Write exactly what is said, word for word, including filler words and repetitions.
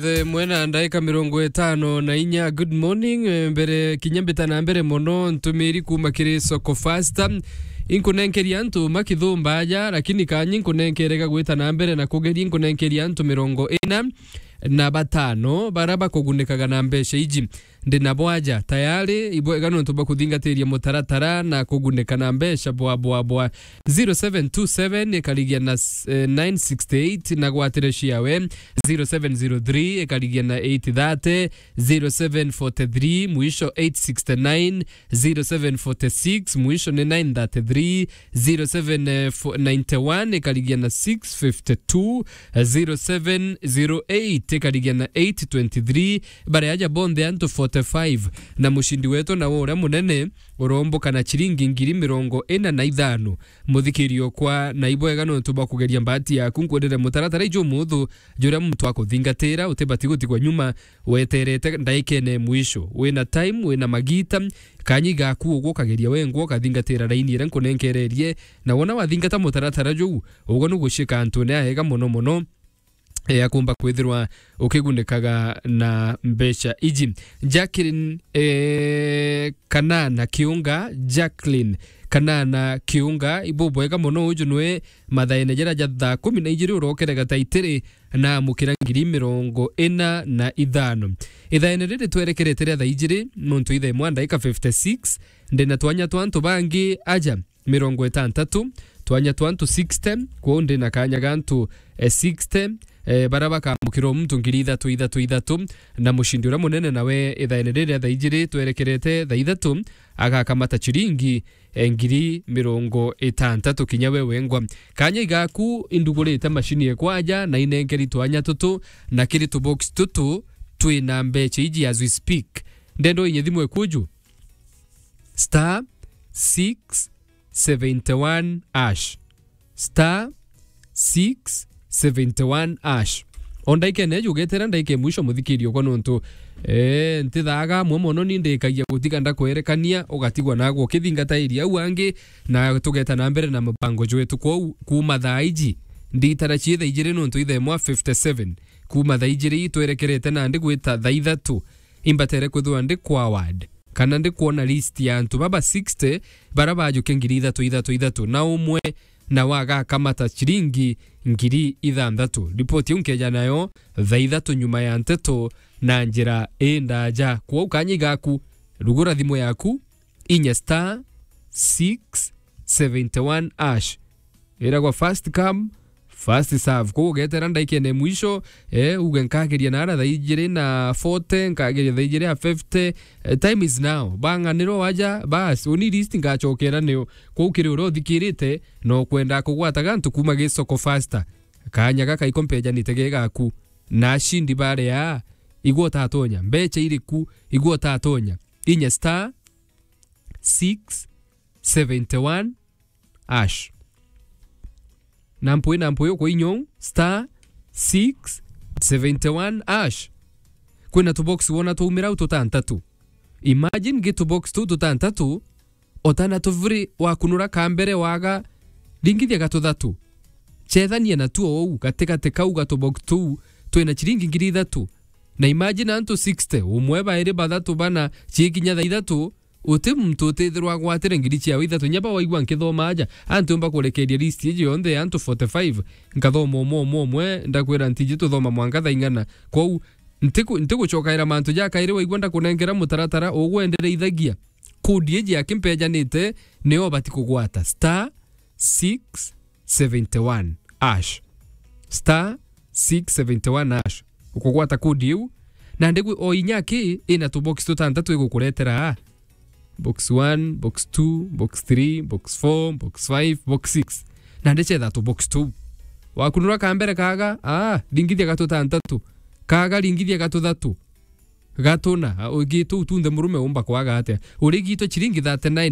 The mwena ndaika mirongo itano na inya. Good morning. Eh, mbere, kinya mbita na mbere mono, ntumiri kuma kiri Soko Fasta. Inkunenkeria antu makithumba aja, lakini kanyi nkunenkerega gwita na mbere na kugeria, inkunenkeria antu mirongo ina na batano bara bakugunikaga na mbeca iji. Ndi nabo aja tayari, ibwega nontu bwa kuthingatiria mutaratara na kugunika na mbeca bwa, bwa, bwa. Zero seven two seven ikarigia na s-, eh, nine sixty eight na gwatire ciawe. Zero seven zero three ikarigia na eight thirty. Zero seven forty three mwisho eight sixty nine. Zero seven forty six mwisho ni nine thirty three. Zero seven ninety one ikarigia na six fifty two. Zero seven zero eight ikarigia na eight twenty three. Baria aja bonthe antu forty five, na mucindi wetu nawe uria munene uromboka na ciringi ngiri mirongo ina na ithano. Muthikiri okwa, na ibwega nontu bwa kugeria mbati yaku, nkwendere mutaratara iju muthu, juria muntu akuthingatira, utibati gutigwa nyuma, weterete ndaikene mwisho. Wina time, wina magita, kanyi gaku ugwo ukageria wengwa ukathingatira raini iria nkunenkererie, na wona wathingata mutaratara juu, ugwo nugucika antune aega mono mono. Eh, akumba kwithirwa ukigunikaga na mbeca iji. Jacqueline, eh, Kanana Kiunga, Jacqueline Kanana Kiunga, ibubwega mono. Uju nwe mathaene jara ja thaa kumi na ijiri urokere gataitiri na amukira ngiri mirongo ina na ithano. Ithaene riri twerekerete ria thaa ijiri, nontu ithaa imwe ndaika fifty six, ndina twanya twa antu bangi aja mirongo itantatu, twanya twa antu sixty, kwou ndi na kanya ga antu, eh, sixty, eh, bara bakamukira o muntu ngiri ithatu, ithatu, ithatu, na mucindi uria munene nawe ithaene riri ria thaa ijiri twerekerete thaa ithatu, agakamata ciringi, eh, ngiri mirongo itantatu kinya we wengwa. Kanya igaku indugurite macini ekwaja na inenkeri twanya tutu na kiri tubox tutu twina mbeca iji as we speak. Ndendo inye thimu ekuju. Star six seventy one hash. Star six seventy one hash. O ndaika ene jugetera ndaika e mwisho muthikiri okwa nontu, eh, ntithaga amwe mono ni ndikagia gutiga ndakwerekania, ugatigwa nagwo ukithingata iria au angi, na tugeta na mbere na mubango jwetu. Kwou kuma thaa iji, nditara cie thaa ijiri nontu ithaa imwe fifty seven. Kuma thaa ijiri itwerekerete nandi gwita thaa ithatu, imbatere kwithirwa ndi kwa ward, kana ndi kwona list ya antu baba sixty bara bajukia ngiri ithatu, ithatu, ithatu, na umwe nawe agakamata ciringi ngiri ithanthatu. Ripoti iu nkeja nayo thaa ithatu nyuma ya nteto na njira indaja. Kwou kanya igaku, rugura thimu yaku, inya star six seventy one hash. Iragwa first come, first serve. Kwou ugetera ndaikene mwisho, eh, uge nkageria nara thaa ijiri na forty, nkageria thaa ijiri ya fifty. Eh, time is now. Bang'anirwo waja, bas, uni list ngachokera niyo. Kwou kiri uria uthikirite, no kwenda kugwata gantu kuma gi Soko Fasta. Kanya gaka iko mpejanite ge gaku. Na ashindi baria, igwo utatonya. Mbecha iriku, igwo utatonya. Inya star six seventy one hash. Na mpwi, na mpwi uko inyong star six seventy one hash. Kwina tubox wona twaumira au tutantatu. Imagine gi tubox tu tutantatu, otana tuvuri wakunura ka mbere waga, ringithia gatuthatu. Chethania na tuo ou, gatigati kau gatubox tuu, twina chiringi ngiri ithatu. Na imagine antu sixty, umwe bairi bathatu bana, chikinya thaa ithatu, uti muntu utithirwa agwatire ngiri ciawe ithatu. Nyaba waigua nkithoma aja, antu mba kurekeria list iji yonthe ya antu forty five, nkathoma umwe, umwe, umwe, ndakwira ntiji tuthoma mwanka thaa ing'ana. Kwou, ntiku-, ntigucokaira mantu ja kairi, waigua ndakunenkera mutaratara, ugwendereithagia. Kodi iji akimpejanite, nio bati kugwata. Star six seventy one hash. Star six seventy one hash. Ukugwata kodi iu. Na ndigwi o inya aki ina tubox tutantatu igukuretera aa. Box one, box two, box three, box four, box five, box six. Na ndichetha tubox tuu. Wakunura ka mbere kaga, aa, ringithia gatu tantatu. Kaga ringithia gatu thatu. Gatuna, a, ugitu utunthe murume umba kwaga atia? Urigitwe chiringi thirty nine